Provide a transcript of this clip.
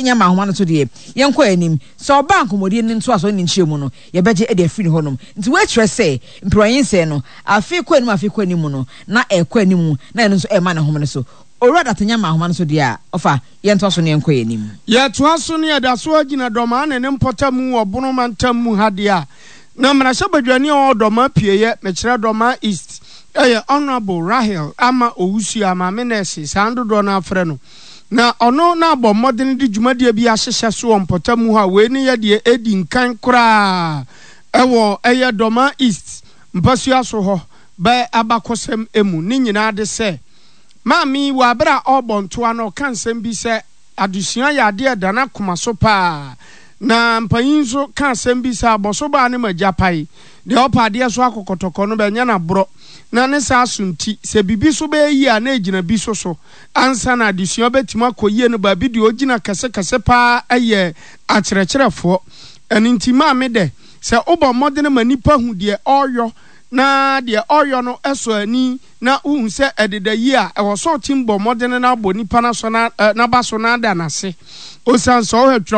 Nya ma ahoma no so deɛ, yɛnkɔ anim. Sɛ ɔba a nkɔmmɔdie no ntoasoɔ ne ne nkyerɛmu no, yɛbɛgye de afiri ne hɔnom. Nti wei kyerɛ sɛ, mperewanyinsɛn no, afe kɔ anim afe kɔ anim no, na ɛrekɔ anim, na ɛno nso ɛrema ne home no so. Owura Datanya ma ahoma no so deɛ a, ɔfa, yɛntoa so na yɛnkɔ yɛn anim. Yɛtoa so na yɛda so ara gyina Dɔmaa ne ne mpɔtam wɔ Bono mantam mu ha deɛ a, na mmarahyɛbadwani a ɔwɔ Dɔmaa Apueeɛ, mekyerɛ Dɔmaa East, yɛ Honourable Rahel Ama Owusu a Maame Nɛɛse, saa dodoɔ no ara frɛ no. Na ɔno na abɔ mmɔdene de dwumadie bi ahyehyɛ so wɔ mpɔtam hɔ a wei ne yɛ deɛ ɛdi nkan koraa wɔ ɛyɛ Dɔmaa East mpasua so hɔ bɛ abakɔsɛm mu. Ne nyinaa de sɛ maame yi wɔ aberɛ a ɔrebɔ ntoa no ɔka nsɛm bi sɛ adesua yɛ adeɛ a ɛda n'akoma so paa na mpanin nso ka asɛm bi sɛ abɔso baa ne ma gya pae deɛ ɔpɛ adeɛ so akɔkɔtɔkɔ no bɛnyɛ no aborɔ na ne saa so nti sɛ biribi so bɛyɛ yie a na ɛgyina bi so so Ansa na adesua bɛtumi akɔ yie no, baabi deɛ ɔgyina kɛsekɛse pa ara yɛ akyerɛkyerɛfoɔ. Ɛno nti maame dɛ, sɛ wobɔ mmɔdene ma nnipa hu deɛ ɔreyɔ na deɛ ɔreyɔ no sɔ ani na wohu sɛ ɛdeda yie a, ɛwɔ sɛ ɔtim bɔ mmɔdene na abɔ nipa no asɔ n'aba so na ada no ase. Osiane sɛ ɔhwɛ twerɛ.